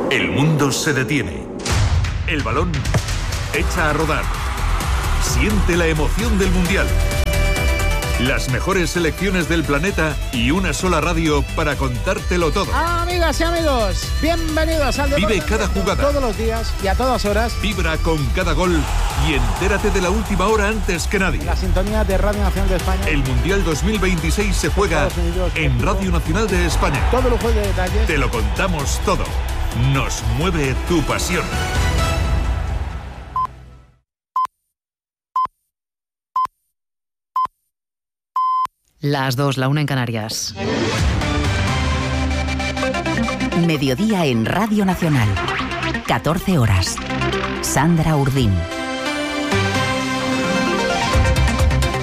El mundo se detiene. El balón echa a rodar. Siente la emoción del Mundial. Las mejores selecciones del planeta y una sola radio para contártelo todo. Amigas y amigos, bienvenidos al deporte. Vive cada jugada. Todos los días y a todas horas. Vibra con cada gol y entérate de la última hora antes que nadie. La sintonía de Radio Nacional de España. El Mundial 2026 se juega en Radio Nacional de España. Todo lujo de detalles. Te lo contamos todo. Nos mueve tu pasión. Las 2, la 1 en Canarias. Mediodía en Radio Nacional. 14 horas. Sandra Urdín.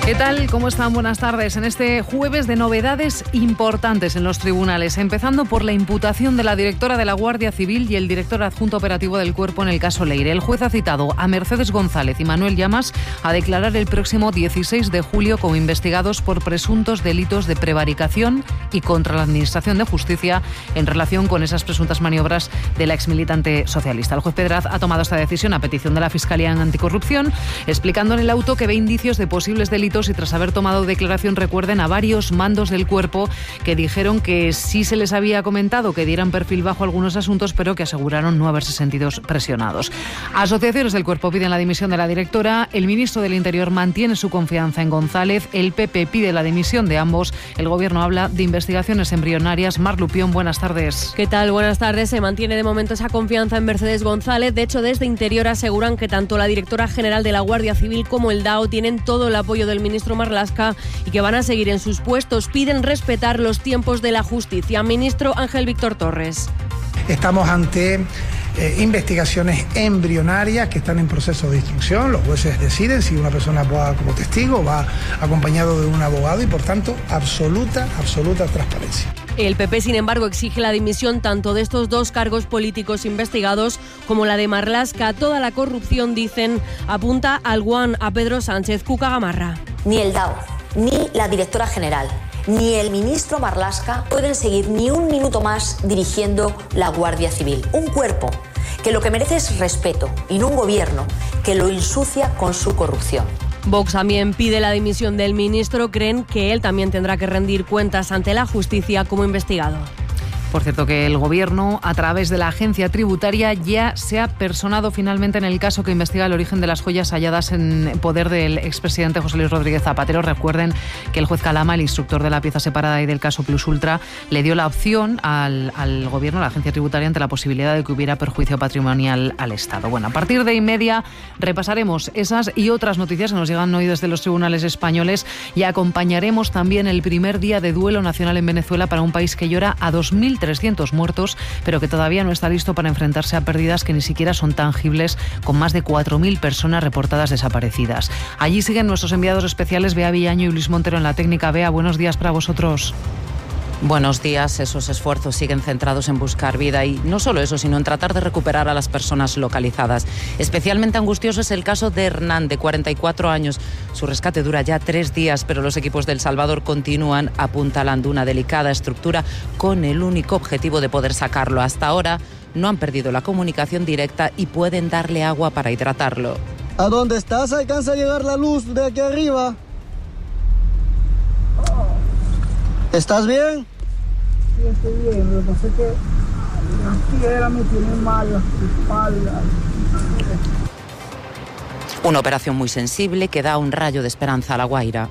¿Qué tal? ¿Cómo están? Buenas tardes. En este jueves de novedades importantes en los tribunales, empezando por la imputación de la directora de la Guardia Civil y el director adjunto operativo del Cuerpo en el caso Leire. El juez ha citado a Mercedes González y Manuel Llamas a declarar el próximo 16 de julio como investigados por presuntos delitos de prevaricación y contra la Administración de Justicia en relación con esas presuntas maniobras de la exmilitante socialista. El juez Pedraz ha tomado esta decisión a petición de la Fiscalía en Anticorrupción, explicando en el auto que ve indicios de posibles delitos y tras haber tomado declaración, recuerden, a varios mandos del Cuerpo que dijeron que sí se les había comentado que dieran perfil bajo algunos asuntos, pero que aseguraron no haberse sentido presionados. Asociaciones del Cuerpo piden la dimisión de la directora, el ministro del Interior mantiene su confianza en González, el PP pide la dimisión de ambos, el Gobierno habla de investigaciones embrionarias. Mar Lupión, buenas tardes. ¿Qué tal? Buenas tardes. Se mantiene de momento esa confianza en Mercedes González. De hecho, desde Interior aseguran que tanto la directora general de la Guardia Civil como el DAO tienen todo el apoyo del ministro Marlaska y que van a seguir en sus puestos. Piden respetar los tiempos de la justicia. Ministro Ángel Víctor Torres. Estamos ante investigaciones embrionarias que están en proceso de instrucción. Los jueces deciden si una persona va como testigo, va acompañado de un abogado y, por tanto, absoluta transparencia. El PP, sin embargo, exige la dimisión tanto de estos dos cargos políticos investigados como la de Marlaska. Toda la corrupción, dicen, apunta al guan, a Pedro Sánchez. Cuca Gamarra. Ni el DAO, ni la directora general, ni el ministro Marlaska pueden seguir ni un minuto más dirigiendo la Guardia Civil. Un cuerpo que lo que merece es respeto y no un gobierno que lo ensucia con su corrupción. Vox también pide la dimisión del ministro. Creen que él también tendrá que rendir cuentas ante la justicia como investigado. Por cierto, que el Gobierno, a través de la agencia tributaria, ya se ha personado finalmente en el caso que investiga el origen de las joyas halladas en poder del expresidente José Luis Rodríguez Zapatero. Recuerden que el juez Calama, el instructor de la pieza separada y del caso Plus Ultra, le dio la opción al Gobierno, a la agencia tributaria, ante la posibilidad de que hubiera perjuicio patrimonial al Estado. Bueno, a partir de 1:30 repasaremos esas y otras noticias que nos llegan hoy desde los tribunales españoles y acompañaremos también el primer día de duelo nacional en Venezuela para un país que llora a 2.300 muertos, pero que todavía no está listo para enfrentarse a pérdidas que ni siquiera son tangibles, con más de 4.000 personas reportadas desaparecidas. Allí siguen nuestros enviados especiales, Bea Villaño y Luis Montero en la técnica. Bea, buenos días para vosotros. Buenos días. Esos esfuerzos siguen centrados en buscar vida y no solo eso, sino en tratar de recuperar a las personas localizadas. Especialmente angustioso es el caso de Hernán, de 44 años. Su rescate dura ya 3 días, pero los equipos de El Salvador continúan apuntalando una delicada estructura con el único objetivo de poder sacarlo. Hasta ahora no han perdido la comunicación directa y pueden darle agua para hidratarlo. ¿A dónde estás? ¿Alcanza a llegar la luz de aquí arriba? ¿Estás bien? Sí, estoy bien. Lo que pasa es que las piedras me tienen mal, las espaldas. Una operación muy sensible que da un rayo de esperanza a La Guaira.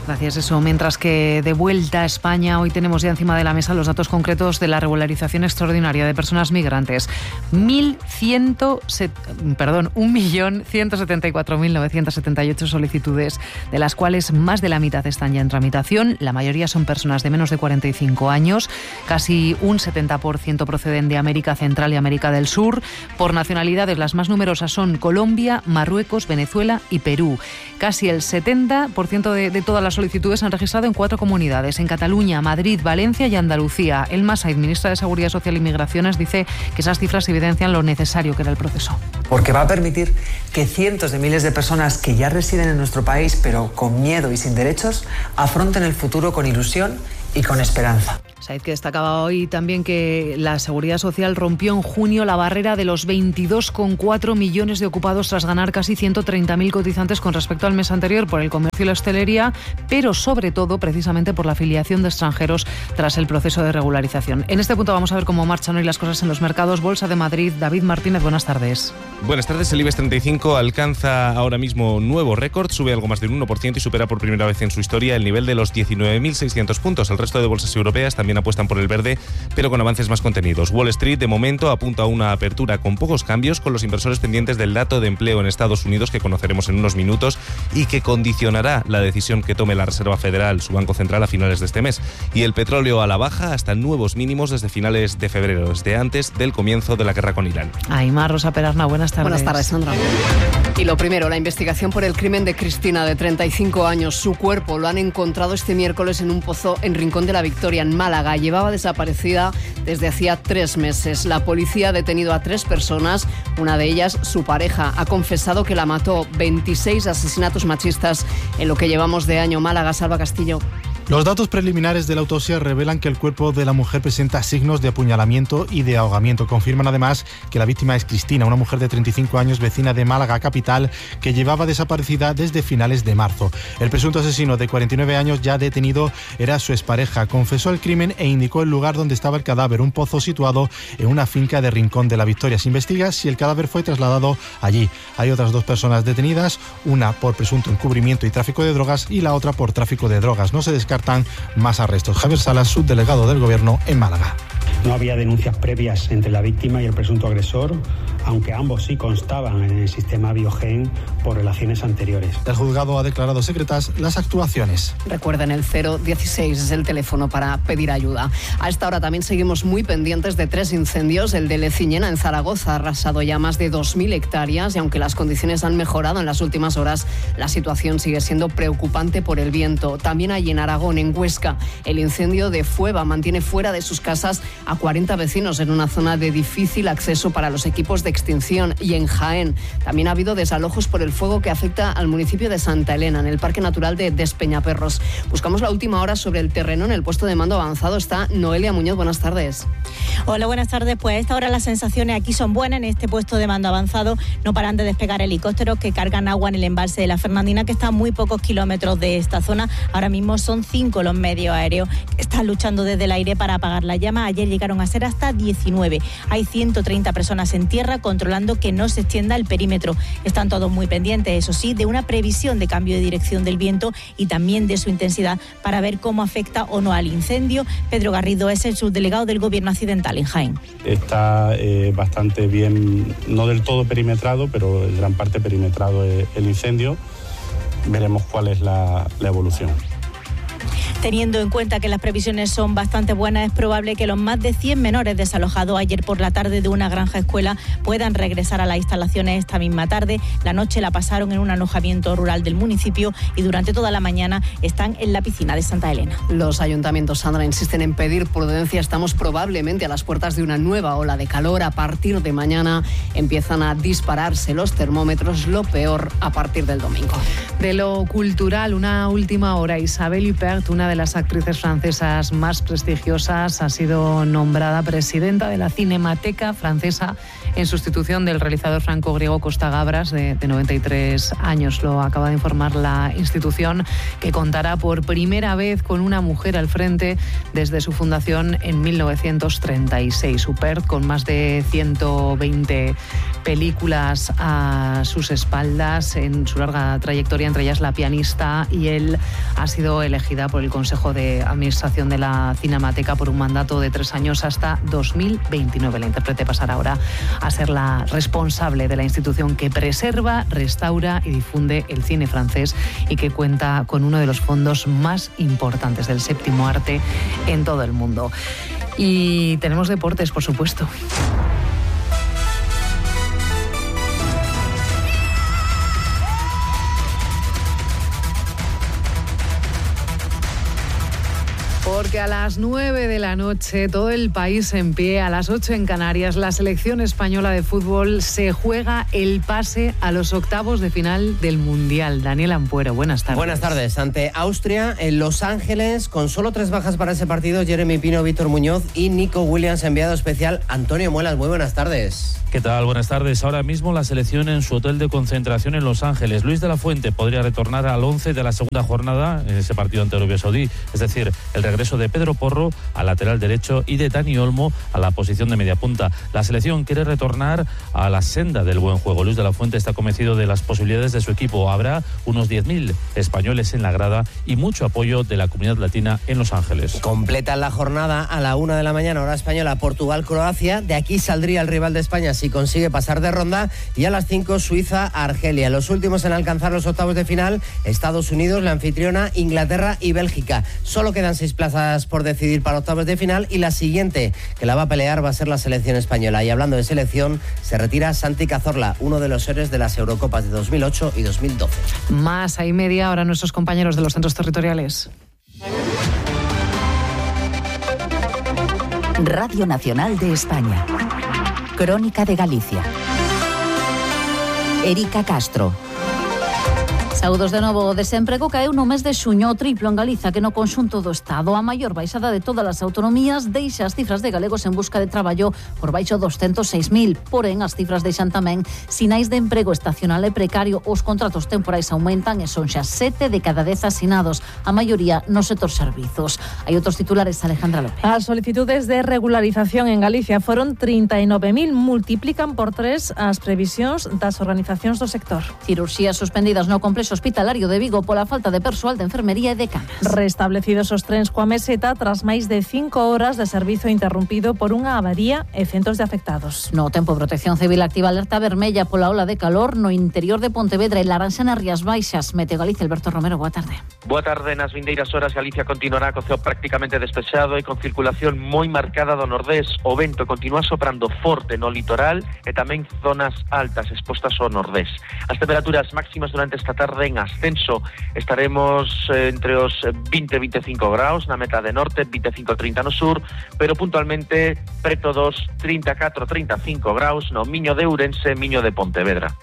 Gracias, eso. Mientras que de vuelta a España, hoy tenemos ya encima de la mesa los datos concretos de la regularización extraordinaria de personas migrantes. 1.174.978 solicitudes, de las cuales más de la mitad están ya en tramitación. La mayoría son personas de menos de 45 años. Casi un 70% proceden de América Central y América del Sur. Por nacionalidades, las más numerosas son Colombia, Marruecos, Venezuela y Perú. Casi el 70% de todas las solicitudes se han registrado en 4 comunidades, en Cataluña, Madrid, Valencia y Andalucía. El Massaid, ministra de Seguridad Social y Migraciones, dice que esas cifras evidencian lo necesario que era el proceso. Porque va a permitir que cientos de miles de personas que ya residen en nuestro país, pero con miedo y sin derechos, afronten el futuro con ilusión y con esperanza. Said, que destacaba hoy también que la Seguridad Social rompió en junio la barrera de los 22,4 millones de ocupados tras ganar casi 130.000 cotizantes con respecto al mes anterior por el comercio y la hostelería, pero sobre todo precisamente por la afiliación de extranjeros tras el proceso de regularización. En este punto vamos a ver cómo marchan hoy las cosas en los mercados. Bolsa de Madrid, David Martínez, buenas tardes. Buenas tardes. El IBEX 35 alcanza ahora mismo nuevo récord, sube algo más del 1% y supera por primera vez en su historia el nivel de los 19.600 puntos. El resto de bolsas europeas también apuestan por el verde, pero con avances más contenidos. Wall Street, de momento, apunta a una apertura con pocos cambios, con los inversores pendientes del dato de empleo en Estados Unidos, que conoceremos en unos minutos y que condicionará la decisión que tome la Reserva Federal, su Banco Central, a finales de este mes. Y el petróleo a la baja hasta nuevos mínimos desde finales de febrero, desde antes del comienzo de la guerra con Irán. Aymar, Rosa Perarna, buenas tardes. Buenas tardes, Sandra. Y lo primero, la investigación por el crimen de Cristina, de 35 años. Su cuerpo lo han encontrado este miércoles en un pozo en Rincón de la Victoria, en Málaga. Llevaba desaparecida desde hacía 3 meses. La policía ha detenido a 3 personas, una de ellas su pareja. Ha confesado que la mató. 26 asesinatos machistas en lo que llevamos de año. Málaga, Salva Castillo. Los datos preliminares de la autopsia revelan que el cuerpo de la mujer presenta signos de apuñalamiento y de ahogamiento. Confirman además que la víctima es Cristina, una mujer de 35 años, vecina de Málaga capital, que llevaba desaparecida desde finales de marzo. El presunto asesino de 49 años, ya detenido, era su expareja. Confesó el crimen e indicó el lugar donde estaba el cadáver, un pozo situado en una finca de Rincón de la Victoria. Se investiga si el cadáver fue trasladado allí. Hay otras 2 personas detenidas, una por presunto encubrimiento y tráfico de drogas y la otra por tráfico de drogas. No se descartan más arrestos. Javier Salas, subdelegado del Gobierno en Málaga. No había denuncias previas entre la víctima y el presunto agresor, aunque ambos sí constaban en el sistema Biogen por relaciones anteriores. El juzgado ha declarado secretas las actuaciones. Recuerden, el 016 es el teléfono para pedir ayuda. A esta hora también seguimos muy pendientes de 3 incendios. El de Leciñena, en Zaragoza, ha arrasado ya más de 2.000 hectáreas y aunque las condiciones han mejorado en las últimas horas, la situación sigue siendo preocupante por el viento. También hay en Aragón, en Huesca, el incendio de Fueva mantiene fuera de sus casas a 40 vecinos en una zona de difícil acceso para los equipos de extinción. Y en Jaén también ha habido desalojos por el fuego que afecta al municipio de Santa Elena, en el Parque Natural de Despeñaperros. Buscamos la última hora sobre el terreno. En el puesto de mando avanzado está Noelia Muñoz. Buenas tardes. Hola, buenas tardes. Pues a esta hora las sensaciones aquí son buenas. En este puesto de mando avanzado no paran de despegar helicópteros que cargan agua en el embalse de la Fernandina, que está a muy pocos kilómetros de esta zona. Ahora mismo son 5 los medios aéreos que están luchando desde el aire para apagar la llama. Ayer llegaron a ser hasta 19. Hay 130 personas en tierra controlando que no se extienda el perímetro. Están todos muy pendientes, eso sí, de una previsión de cambio de dirección del viento y también de su intensidad para ver cómo afecta o no al incendio. Pedro Garrido es el subdelegado del Gobierno accidental en Jaén. Está bastante bien, no del todo perimetrado, pero en gran parte perimetrado el incendio. Veremos cuál es la evolución. Teniendo en cuenta que las previsiones son bastante buenas, es probable que los más de 100 menores desalojados ayer por la tarde de una granja escuela puedan regresar a las instalaciones esta misma tarde. La noche la pasaron en un alojamiento rural del municipio y durante toda la mañana están en la piscina de Santa Elena. Los ayuntamientos, Sandra, insisten en pedir prudencia. Estamos probablemente a las puertas de una nueva ola de calor. A partir de mañana empiezan a dispararse los termómetros, lo peor a partir del domingo. De lo cultural, una última hora. Isabelle Huppert, una de las actrices francesas más prestigiosas, ha sido nombrada presidenta de la Cinemateca Francesa en sustitución del realizador franco-griego Costa Gavras, de 93 años. Lo acaba de informar la institución, que contará por primera vez con una mujer al frente desde su fundación en 1936. Huppert, con más de 120 películas a sus espaldas en su larga trayectoria, entre ellas La pianista, y él ha sido elegida por el Consejo de Administración de la Cinemateca por un mandato de 3 años hasta 2029. La intérprete pasará ahora a ser la responsable de la institución que preserva, restaura y difunde el cine francés y que cuenta con uno de los fondos más importantes del séptimo arte en todo el mundo. Y tenemos deportes, por supuesto. Porque a las 9 de la noche todo el país en pie, a las 8 en Canarias, la selección española de fútbol se juega el pase a los octavos de final del Mundial. Daniel Ampuero, buenas tardes. Buenas tardes. Ante Austria, en Los Ángeles, con solo 3 bajas para ese partido, Jeremy Pino, Víctor Muñoz y Nico Williams, enviado especial Antonio Muelas. Muy buenas tardes. ¿Qué tal? Buenas tardes. Ahora mismo la selección en su hotel de concentración en Los Ángeles. Luis de la Fuente podría retornar al 11 de la segunda jornada en ese partido ante Arabia Saudí. Es decir, el regreso de Pedro Porro al lateral derecho y de Dani Olmo a la posición de media punta. La selección quiere retornar a la senda del buen juego. Luis de la Fuente está convencido de las posibilidades de su equipo. Habrá unos 10.000 españoles en la grada y mucho apoyo de la comunidad latina en Los Ángeles. Completan la jornada a la 1 de la mañana, hora española, Portugal-Croacia. De aquí saldría el rival de España si consigue pasar de ronda, y a las 5 Suiza-Argelia. Los últimos en alcanzar los octavos de final, Estados Unidos, la anfitriona, Inglaterra y Bélgica. Solo quedan 6 plazas por decidir para octavos de final, y la siguiente que la va a pelear va a ser la selección española. Y hablando de selección, se retira Santi Cazorla, uno de los héroes de las Eurocopas de 2008 y 2012. Más ahí media hora nuestros compañeros de los centros territoriales. Radio Nacional de España. Crónica de Galicia. Erika Castro. Saúdos de novo. O desemprego caeu no mes de xuño, o triplo en Galiza que no conxunto do Estado. A maior baixada de todas as autonomías deixa as cifras de galegos en busca de traballo por baixo 206.000. Porén, as cifras deixan tamén sinais de emprego estacional e precario. Os contratos temporais aumentan e son xa 7 de cada 10 asinados, a maioría no sector servizos. Hai outros titulares, Alejandra López. As solicitudes de regularización en Galicia foron 39.000, multiplican por 3 as previsións das organizacións do sector. Cirurxías suspendidas no complexo hospitalario de Vigo pola falta de persoal de enfermería e de camas. Restablecidos os trens coa meseta tras máis de 5 horas de servizo interrumpido por unha avaría e centos de afectados. No tempo, Protección Civil activa alerta vermella pola ola de calor no interior de Pontevedra e laranxa nas Rías Baixas. Meteo Galicia, Alberto Romero, boa tarde. Boa tarde. Nas vindeiras horas Galicia continuará co ceo prácticamente despexado e con circulación moi marcada do nordés. O vento continúa soprando forte no litoral e tamén zonas altas expostas ao nordés. As temperaturas máximas durante esta tarde en ascenso, estaremos entre os 20 e 25 graus na metade norte, 25-30 no sur, pero puntualmente preto dos 34-35 graus no Miño de Ourense, Miño de Pontevedra.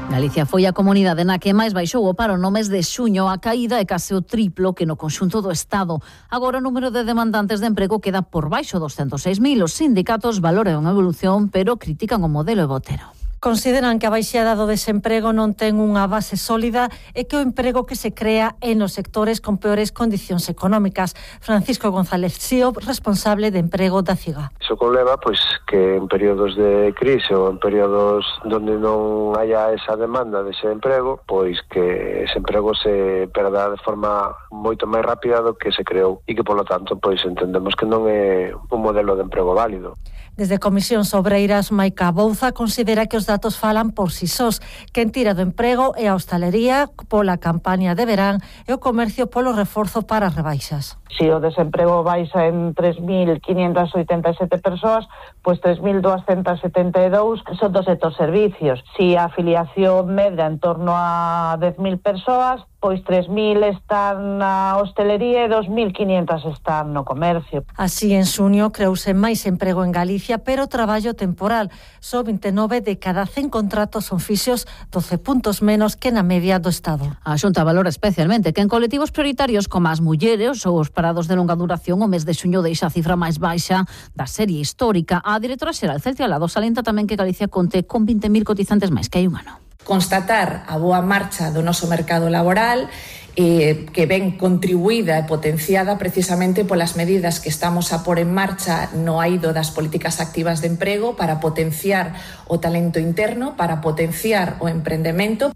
Galicia foi a comunidade na que máis baixou o paro no mes de xuño. A caída é case o triplo que no conxunto do Estado. Agora o número de demandantes de emprego queda por baixo dos 206.000. Os sindicatos valoran a evolución, pero critican o modelo de Botero. Consideran que a baixada do desemprego non ten unha base sólida e que o emprego que se crea é nos sectores con peores condicións económicas. Francisco González Sío, responsable de emprego da CIGA. Iso conleva que en períodos de crise ou en períodos onde non haya esa demanda dese emprego, pois que ese emprego se perda de forma moito máis rápida do que se creou e que, polo tanto, pois entendemos que non é un modelo de emprego válido. Desde Comisións Obreiras, Maica Bouza considera que os datos falan por si sós. Quen tira do emprego é a hostalería pola campaña de verán e o comercio polo reforzo para as rebaixas. Si o desemprego baixa en 3.587 persoas, pois 3.272 son do sector servicios. Si a afiliación medra en torno a 10.000 persoas, pois 3.000 están na hostelería e 2.500 están no comercio. Así, en xuño creouse máis emprego en Galicia, pero traballo temporal. Só 29 de cada 100 contratos son fixos, 12 puntos menos que na media do Estado. A Xunta valora especialmente que en colectivos prioritarios como as mulleres ou os parados de longa duración, o mes de xuño deixa a cifra máis baixa da serie histórica. A directora xeral Celtia Lado salienta tamén que Galicia conte con 20.000 cotizantes máis que hai un ano. Constatar a boa marcha do noso mercado laboral, que ven contribuída e potenciada precisamente polas medidas que estamos a pôr en marcha no eido das políticas activas de emprego para potenciar o talento interno, para potenciar o emprendemento.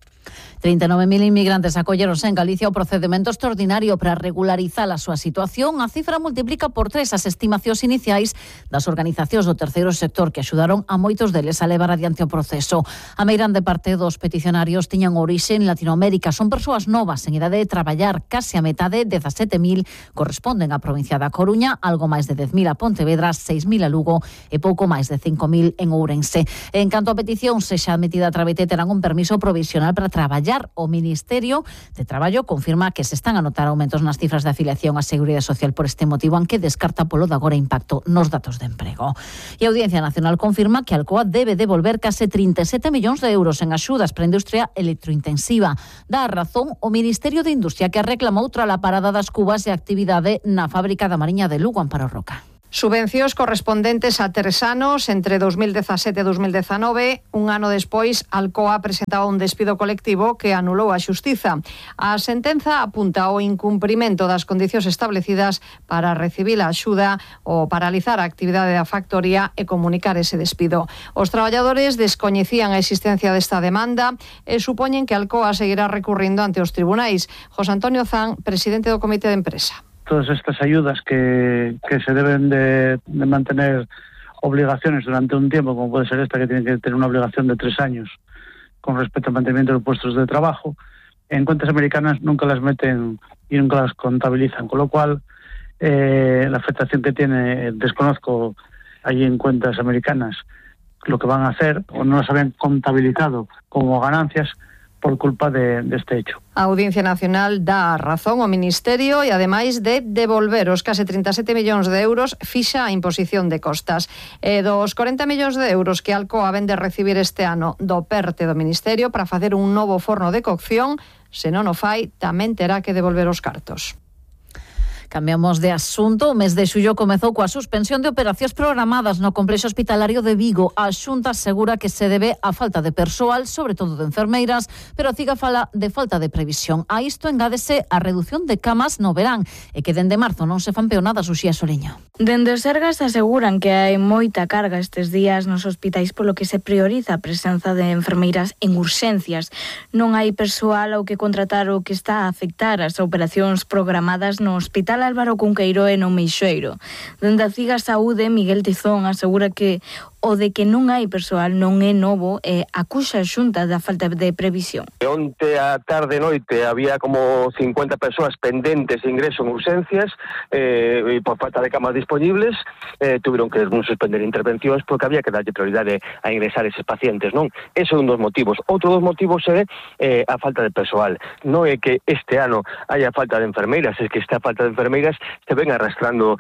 39.000 inmigrantes acolleronse en Galicia o procedimento extraordinario para regularizar a súa situación. A cifra multiplica por 3 as estimacións iniciais das organizacións do terceiro sector que axudaron a moitos deles a levar adiante o proceso. A meirande parte dos peticionarios tiñan orixe en Latinoamérica. Son persoas novas en idade de traballar. Case a metade, 17.000, corresponden á provincia da Coruña, algo máis de 10.000 a Pontevedra, 6.000 a Lugo e pouco máis de 5.000 en Ourense. En canto a peticións, se xa admitida a trámite, terán un permiso provisional para traballar traballar. O Ministerio de Traballo confirma que se están a notar aumentos nas cifras de afiliación á Seguridade Social por este motivo, aunque descarta polo de agora impacto nos datos de emprego. E a Audiencia Nacional confirma que Alcoa debe devolver case 37 millóns de euros en axudas para a industria electrointensiva. Dá a razón o Ministerio de Industria, que reclamou tras a parada das cubas e actividade na fábrica da Mariña de Lugo, Amparo Roca. Subvencións correspondentes a 3 anos, entre 2017 e 2019. Un ano despois, Alcoa presentaba un despido colectivo que anulou a xustiza. A sentenza apunta ao incumprimento das condicións establecidas para recibir a axuda ou paralizar a actividade da factoría e comunicar ese despido. Os traballadores descoñecían a existencia desta demanda e supoñen que Alcoa seguirá recurrindo ante os tribunais. José Antonio Zan, presidente do Comité de Empresa. Todas estas ayudas que se deben de mantener obligaciones durante un tiempo, como puede ser esta, que tiene que tener una obligación de 3 años con respecto al mantenimiento de puestos de trabajo, en cuentas americanas nunca las meten y nunca las contabilizan, con lo cual la afectación que tiene, desconozco allí en cuentas americanas lo que van a hacer, o no las habían contabilizado como ganancias por culpa de este hecho. A Audiencia Nacional dá a razón ao Ministerio e, ademais de devolver os case 37 millóns de euros, fixa a imposición de costas. E dos 40 millóns de euros que Alcoa vende recibir este ano do PERTE do Ministerio para facer un novo forno de cocción, se non o fai, tamén terá que devolver os cartos. Cambiamos de asunto. O mes de xullo comezou coa suspensión de operacións programadas no complexo hospitalario de Vigo. A Xunta asegura que se debe á falta de persoal, sobre todo de enfermeiras, pero a CIGA fala de falta de previsión. A isto engádese a reducción de camas no verán e que dende marzo non se fan peonadas. Uxía Soliño. Dende os Sergas aseguran que hai moita carga estes días nos hospitais, polo que se prioriza a presenza de enfermeiras en urxencias. Non hai persoal ao que contratar o que está a afectar as operacións programadas no Hospital Álvaro Cunqueiro e no Meixoeiro. Dende a CIGA Saúde, Miguel Tizón asegura que o de que non hai persoal non é novo e acusa a Xunta da falta de previsión. Onte a tarde e noite había como 50 persoas pendentes de ingreso en urxencias e por falta de camas disponibles tuvieron que suspender intervencións porque había que darlle prioridade a ingresar eses pacientes, non? Ese é un dos motivos. Outro dos motivos é a falta de persoal. Non é que este ano haya falta de enfermeiras, é que esta falta de enfermeiras se ven arrastrando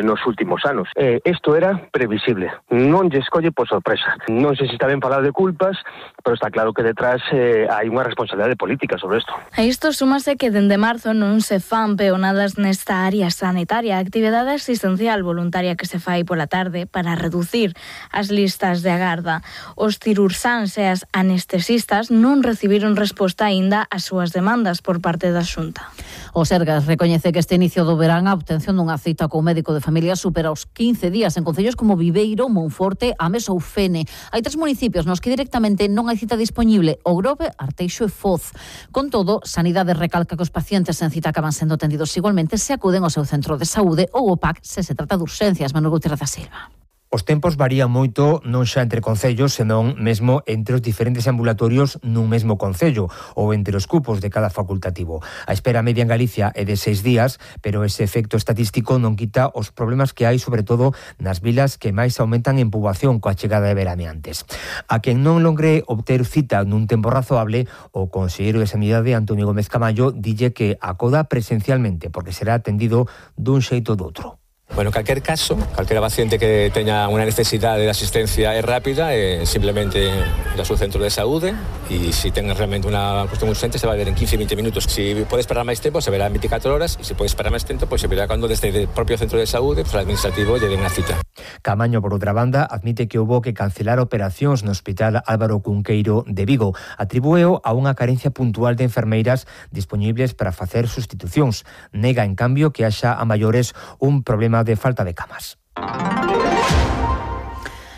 nos últimos anos. Isto era previsible. Non lle escolle por sorpresa. Non sei se está ben falar de culpas, pero está claro que detrás hai unha responsabilidade política sobre isto. A isto súmase que dende marzo non se fan peonadas nesta área sanitaria, a actividade asistencial voluntaria que se fai pola tarde para reducir as listas de agarda. Os cirurxáns e as anestesistas non recibiron resposta aínda ás súas demandas por parte da Xunta. O Sergas recoñece que este inicio do verán a obtención dunha cita con médico de familia supera os 15 días en concellos como Viveiro, Monforte, Ames ou Fene. Hai 3 municipios nos que directamente non hai cita disponible: O Grove, Arteixo e Foz. Con todo, Sanidade recalca que os pacientes en cita acaban sendo atendidos igualmente se acuden ao seu centro de saúde ou o PAC se trata de urxencias. Manuel Gutiérrez da Silva. Os tempos varían moito non xa entre concellos, senón mesmo entre os diferentes ambulatorios nun mesmo concello ou entre os cupos de cada facultativo. A espera media en Galicia é de 6 días, pero ese efecto estatístico non quita os problemas que hai, sobre todo nas vilas que máis aumentan en poboación coa chegada de veraneantes. A quen non logre obter cita nun tempo razoable, o conselleiro de Sanidade, Antonio Gómez Camallo, dille que acoda presencialmente porque será atendido dun xeito ou doutro. Bueno, en calquer caso, calquera paciente que teña unha necesidade de asistencia é rápida, simplemente ir ao seu centro de saúde e se ten realmente unha cuestión urgente se vai ver en 15-20 minutos. Se pode esperar máis tempo, se verá en 24 horas e se pode esperar máis tempo, se verá cando desde o propio centro de saúde, o administrativo lle den a cita. Camaño, por outra banda, admite que houbo que cancelar operacións no Hospital Álvaro Cunqueiro de Vigo. Atribúeo a unha carencia puntual de enfermeiras dispoñibles para facer sustitucións. Nega, en cambio, que haxa a maiores un problema de falta de camas.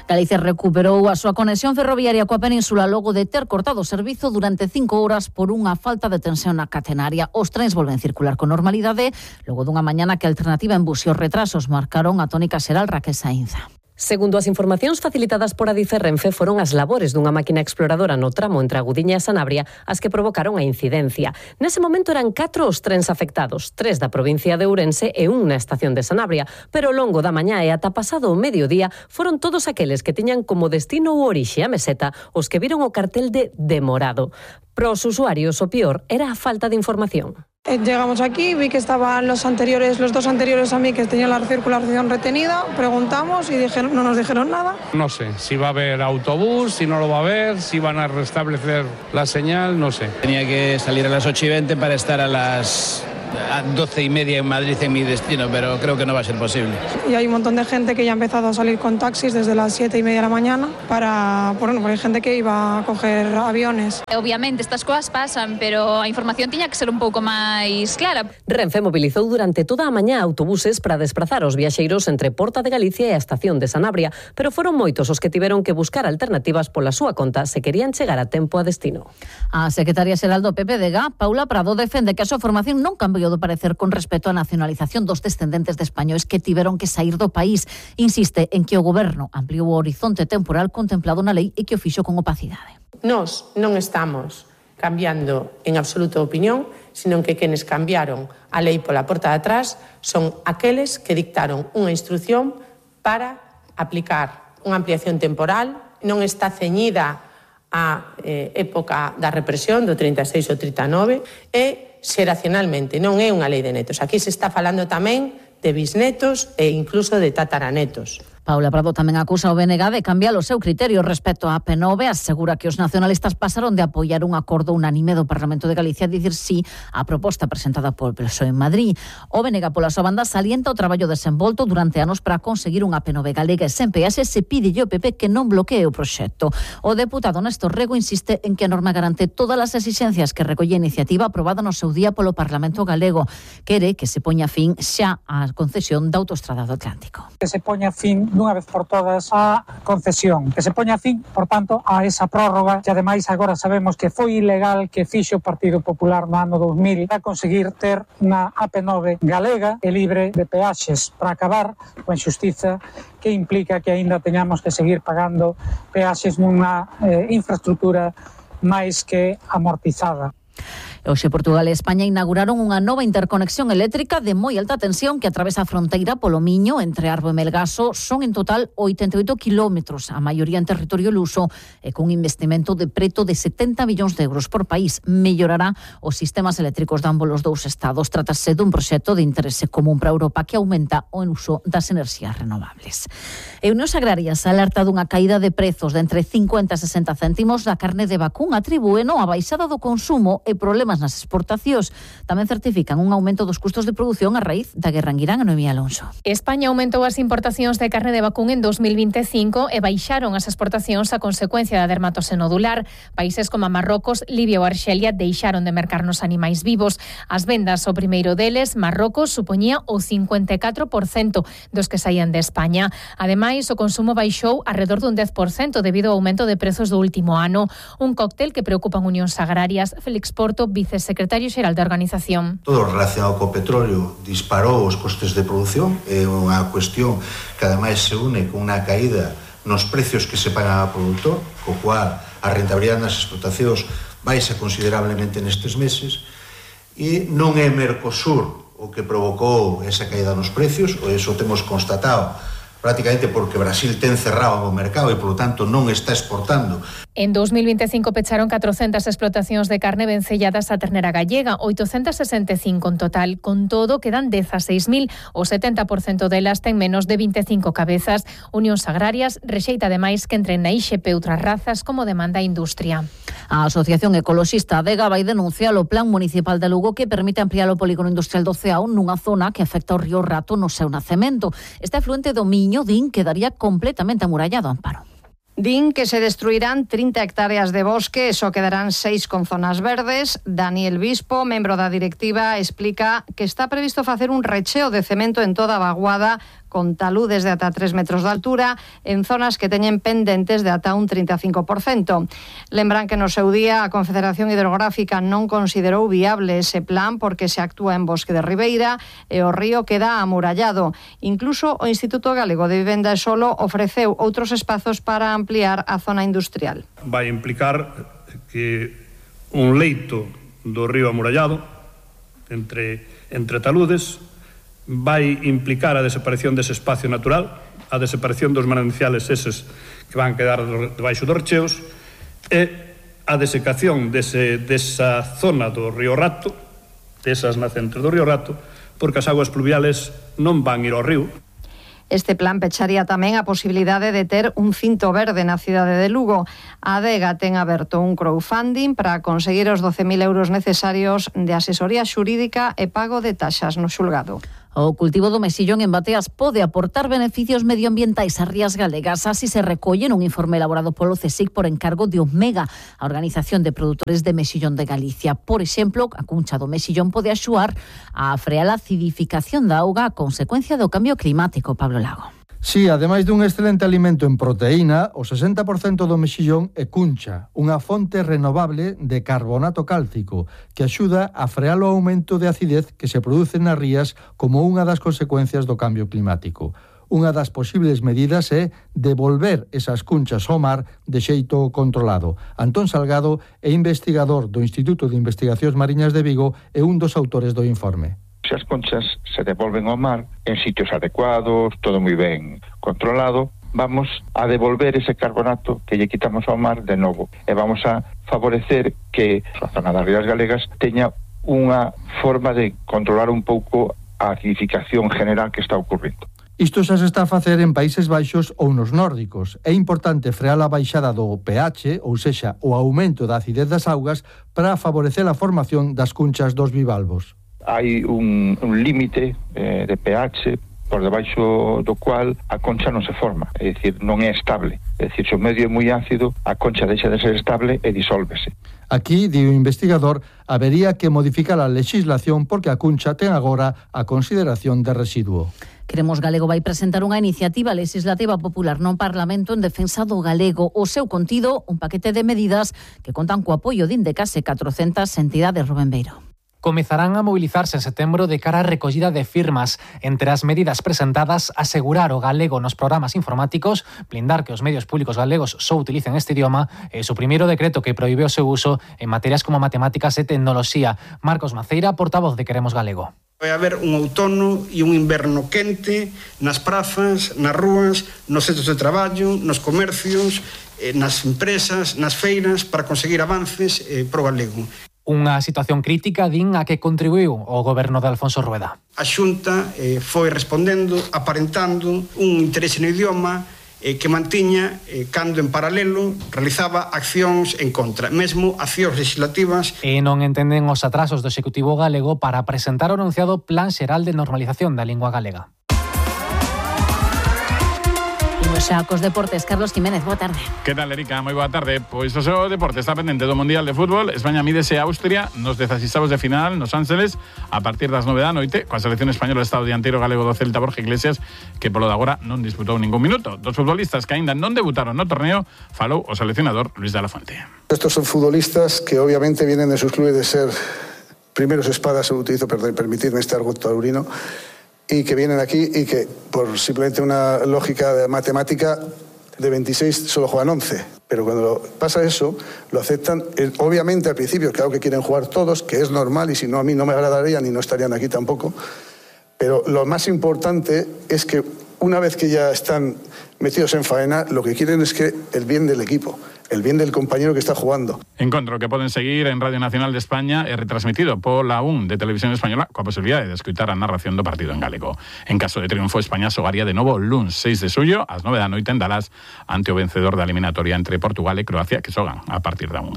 Galicia recuperou a súa conexión ferroviaria coa península logo de ter cortado o servizo durante 5 horas por unha falta de tensión na catenaria. Os trens volven circular con normalidade logo dunha mañana que a alternativa en bus e os retrasos marcaron a tónica xeral. Raquel Saínza. Segundo as informacións facilitadas por Adif e Renfe, foron as labores dunha máquina exploradora no tramo entre a Gudiña e Sanabria as que provocaron a incidencia. Nese momento eran 4 os trens afectados, 3 da provincia de Ourense e un na estación de Sanabria, pero ao longo da mañá e ata pasado o mediodía foron todos aqueles que tiñan como destino ou orixe a Meseta os que viron o cartel de demorado. Para os usuarios o peor era a falta de información. Llegamos aquí, vi que estaban los dos anteriores a mí que tenían la circulación retenida, preguntamos y no nos dijeron nada. No sé si va a haber autobús, si no lo va a haber, si van a restablecer la señal, no sé. Tenía que salir a las 8:20 para estar a las 12:30 en Madrid en mi destino, pero creo que no va a ser posible. Y hay un montón de gente que ya ha empezado a salir con taxis desde las 7:30 de la mañana porque hay gente que iba a coger aviones. Obviamente estas cosas pasan, pero a información tiña que ser un pouco máis clara. Renfe mobilizou durante toda a mañá autobuses para desplazar os viaxeiros entre Porta de Galicia e a estación de Sanabria, pero foron moitos os que tiveron que buscar alternativas pola súa conta se querían chegar a tempo a destino. A secretaria xeral do PPDG, Paula Prado, defende que a súa formación non cambiou do parecer con respecto á nacionalización dos descendentes de españois que tiveron que sair do país. Insiste en que o goberno ampliou o horizonte temporal contemplado na lei e que o fixo con opacidade. Nós non estamos cambiando en absoluto a opinión, sino que quenes cambiaron a lei pola porta de atrás son aqueles que dictaron unha instrucción para aplicar unha ampliación temporal, non está ceñida á época da represión do 36 ou 39 e xeracionalmente, non é unha lei de netos. Aquí se está falando tamén de bisnetos e incluso de tataranetos. Paula Prado tamén acusa o BNG de cambiar o seu criterio respecto á P9, asegura que os nacionalistas pasaron de apoiar un acordo unánime do Parlamento de Galicia a dicir sí á proposta presentada por PSOE en Madrid. O BNG pola súa banda salienta o traballo desenvolto durante anos para conseguir unha P9 galega e sen peaxe se pide ao PP que non bloquee o proxecto. O deputado Néstor Rego insiste en que a norma garante todas as exixencias que recolle a iniciativa aprobada no seu día polo Parlamento galego. Quere que se poña fin xa á concesión da autoestrada do Atlántico. Que se poña fin dunha vez por todas a concesión, que se poña fin, por tanto, a esa prórroga que ademais agora sabemos que foi ilegal que fixo o Partido Popular no ano 2000 para conseguir ter unha AP9 galega e libre de peaxes para acabar coa injustiza que implica que aínda teñamos que seguir pagando peaxes nunha infraestructura máis que amortizada. Hoxe Portugal e España inauguraron unha nova interconexión eléctrica de moi alta tensión que atravesa a fronteira polo Miño entre Arbo e Melgaso. Son en total 88 kilómetros, a maioría en territorio luso, e cun investimento de preto de 70 millóns de euros por país. Mellorará os sistemas eléctricos de ambos os dous estados. Trátase dun proxecto de interese común para Europa que aumenta o uso das enerxías renovables. E Unións Agrarias alerta dunha caída de prezos de entre 50 e 60 céntimos da carne de vacún, atribúeno a baixada do consumo e problemas nas exportacións. Tamén certifican un aumento dos custos de produción a raíz da guerra en Irán. A Noemí Alonso. España aumentou as importacións de carne de vacún en 2025 e baixaron as exportacións a consecuencia da dermatose nodular. Países como Marrocos, Libia ou Arxelia deixaron de mercar nos animais vivos. As vendas ao primeiro deles, Marrocos, supoñía o 54% dos que saían de España. Ademais, o consumo baixou alrededor dun 10% debido ao aumento de prezos do último ano. Un cóctel que preocupa a Unións Agrarias. Félix Porto, vicesecretario xeral da organización. Todo relacionado co petróleo disparou os costes de produción, é unha cuestión que ademais se une con unha caída nos precios que se pagan ao produtor, co cual a rentabilidade nas explotacións baixa considerablemente nestes meses, e non é Mercosur o que provocou esa caída nos precios, ou eso temos constatado prácticamente porque Brasil ten cerrado o mercado e, polo tanto, non está exportando. En 2025 pecharon 400 explotacións de carne vencelladas a ternera gallega, 865 en total. Con todo, quedan 16.000, o 70% delas ten menos de 25 cabezas. Unións Agrarias rexeita ademais que entren na IXP outras razas como demanda a industria. A Asociación Ecoloxista Adega vai denunciar o Plan Municipal de Lugo que permite ampliar o polígono industrial do Ceao nunha zona que afecta ao río Rato no seu nacemento. Este afluente do Miño din quedaría completamente amurallado, Amparo. Din que se destruirán 30 hectáreas de bosque e só quedarán 6 con zonas verdes. Daniel Bispo, membro da directiva, explica que está previsto facer un recheo de cemento en toda a vaguada con taludes de ata 3 metros de altura en zonas que teñen pendentes de ata un 35%. Lembran que no seu día a Confederación Hidrográfica non considerou viable ese plan porque se actúa en bosque de ribeira e o río queda amurallado. Incluso o Instituto Galego de Vivenda e Solo ofreceu outros espazos para ampliar a zona industrial. Vai implicar que un leito do río amurallado entre taludes vai implicar a desaparición dese espacio natural, a desaparición dos mananciales eses que van quedar debaixo dos recheos e a desecación desa zona do río Rato, desas nacentes do río Rato, porque as aguas pluviales non van ir ao río. Este plan pecharía tamén a posibilidade de ter un cinto verde na cidade de Lugo. A Adega ten aberto un crowdfunding para conseguir os 12.000 euros necesarios de asesoría xurídica e pago de taxas no xulgado. O cultivo do mexillón en bateas pode aportar beneficios medioambientais ás rías galegas. Así se recolle nun informe elaborado polo CSIC por encargo de Omega, a Organización de Produtores de Mexillón de Galicia. Por exemplo, a cuncha do mexillón pode axudar a frear a acidificación da auga a consecuencia do cambio climático. Pablo Lago. Sí, ademais dun excelente alimento en proteína, o 60% do mexillón é cuncha, unha fonte renovable de carbonato cálcico que axuda a frear o aumento de acidez que se produce nas rías como unha das consecuencias do cambio climático. Unha das posibles medidas é devolver esas cunchas ao mar de xeito controlado. Antón Salgado é investigador do Instituto de Investigacións Mariñas de Vigo e un dos autores do informe. Se as conchas se devolven ao mar en sitios adecuados, todo moi ben controlado, vamos a devolver ese carbonato que lle quitamos ao mar de novo e vamos a favorecer que a zona das rías galegas teña unha forma de controlar un pouco a acidificación general que está ocorrendo. Isto xa se está a facer en Países Baixos ou nos nórdicos. É importante frear a baixada do pH, ou sexa, o aumento da acidez das augas para favorecer a formación das cunchas dos bivalvos. Hai un límite de pH por debaixo do cual a concha non se forma, é dicir, non é estable. É dicir, se o medio é moi ácido, a concha deixa de ser estable e disólvese. Aquí, di o investigador, habería que modificar a legislación porque a cuncha ten agora a consideración de residuo. Queremos Galego vai presentar unha iniciativa legislativa popular no Parlamento en defensa do galego. O seu contido, un paquete de medidas que contan co apoio de Indecase 400 entidades. Rubén Beiro. Comezarán a mobilizarse en setembro de cara á recollida de firmas. Entre as medidas presentadas, asegurar o galego nos programas informáticos, blindar que os medios públicos galegos só utilicen este idioma e suprimir o decreto que proíbe o seu uso en materias como matemáticas e tecnoloxía. Marcos Maceira, portavoz de Queremos Galego. Vai haber un outono e un inverno quente nas prazas, nas rúas, nos centros de traballo, nos comercios, nas empresas, nas feiras, para conseguir avances pro galego. Unha situación crítica, din, a que contribuiu o goberno de Alfonso Rueda. A Xunta foi respondendo, aparentando un interese no idioma que mantiña, cando en paralelo realizaba accións en contra, mesmo accións legislativas. E non entenden os atrasos do Executivo galego para presentar o anunciado Plan Xeral de Normalización da Lingua Galega. Xa cos deportes, Carlos Jiménez, boa tarde. Que tal, Erika? Moi boa tarde. Pois o seu deporte está pendente do Mundial de Fútbol. España mídese a Austria nos 16avos de final nos Ángeles a partir das 9 da noite, coa selección española está o dianteiro galego do Celta Borja Iglesias, que polo de agora non disputou ningún minuto. Dos futbolistas que aínda non debutaron no torneo, falou o seleccionador Luis de la Fuente. Estos son futbolistas que obviamente vienen de sus clubes de ser primeros espadas, se utilizo para permitirme este argot taurino, y que vienen aquí y que por simplemente una lógica de matemática de 26 solo juegan 11. Pero cuando pasa eso, lo aceptan. Obviamente al principio, claro que quieren jugar todos, que es normal, y si no a mí no me agradarían y no estarían aquí tampoco. Pero lo más importante es que una vez que ya están metidos en faena, lo que quieren es que el bien del equipo, el bien del compañero que está jugando. Encontro que poden seguir en Radio Nacional de España e retransmitido pola 1 de Televisión Española coa posibilidade de escutar a narración do partido en galego. En caso de triunfo, España xogaría de novo o luns 6 de xullo ás 9 da noite en Dallas ante o vencedor da eliminatoria entre Portugal e Croacia, que xogan a partir da 1.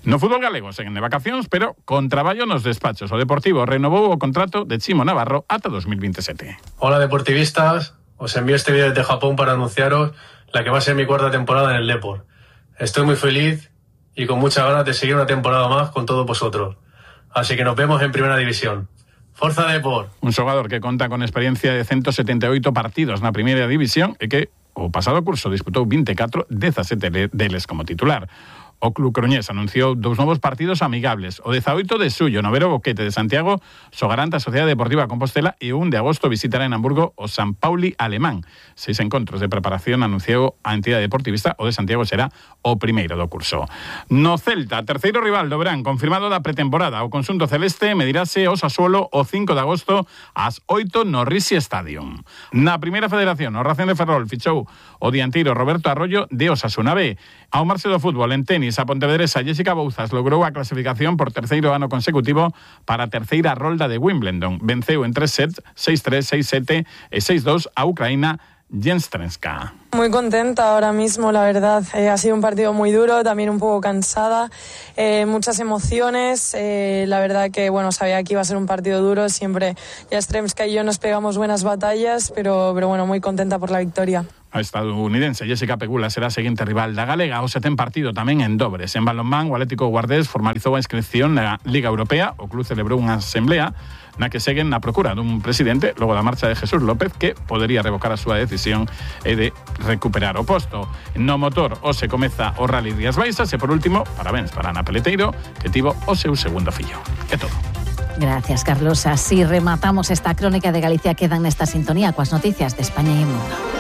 No fútbol galego seguen de vacacións, pero con traballo nos despachos. O Deportivo renovou o contrato de Chimo Navarro ata 2027. Hola deportivistas, os envío este vídeo desde Japón para anunciaros la que va a ser mi cuarta temporada en el Depor. Estoy muy feliz y con muchas ganas de seguir una temporada más con todos vosotros. Así que nos vemos en Primera División. Forza Depor. Un xogador que conta con experiencia de 178 partidos na primeira división e que o pasado curso disputou 24, 17 deles como titular. O club coruñés anunciou 2 novos partidos amigables. O 18 de xullo no Vero Boquete de Santiago xogarán a Sociedade Deportiva Compostela e o 1 de agosto visitará en Hamburgo o San Pauli alemán. 6 encontros de preparación anunciou a entidade deportivista. O de Santiago será o primeiro do curso. No Celta, terceiro rival do verán confirmado da pretemporada. O conxunto celeste medirase o Sassuolo o 5 de agosto ás 8 no Risi Stadium. Na primeira federación, o Racing de Ferrol fichou o dianteiro Roberto Arroyo de Osasuna B. Ao marxe do fútbol, en tenis, a pontevedresa Jessica Bouzas logrou a clasificación por terceiro ano consecutivo para a terceira rolda de Wimbledon. Venceu en 3 sets, 6-3, 6-7 e 6-2 a Ucraína Jenstrenska. Muy contenta ahora mismo, la verdad. Ha sido un partido muy duro, también un poco cansada, muchas emociones. La verdad que, sabía que iba a ser un partido duro. Siempre Jastremska y yo nos pegamos buenas batallas, pero muy contenta por la victoria. A estadounidense Jessica Pegula será a seguinte rival da galega. O 7 partido tamén en dobres. En balonmán, o Atlético Guardés formalizou a inscripción na Liga Europea. O club celebrou unha asamblea na que seguen na procura dun presidente logo da marcha de Jesús López, que podería revocar a súa decisión e de recuperar o posto. No motor, hoxe comeza o Rally Rías Baixas e, por último, parabéns para Ana Peleteiro, que tivo o seu segundo fillo. É todo. Gracias, Carlos. Así rematamos esta crónica de Galicia. Quedan nesta sintonía coas noticias de España e o mundo.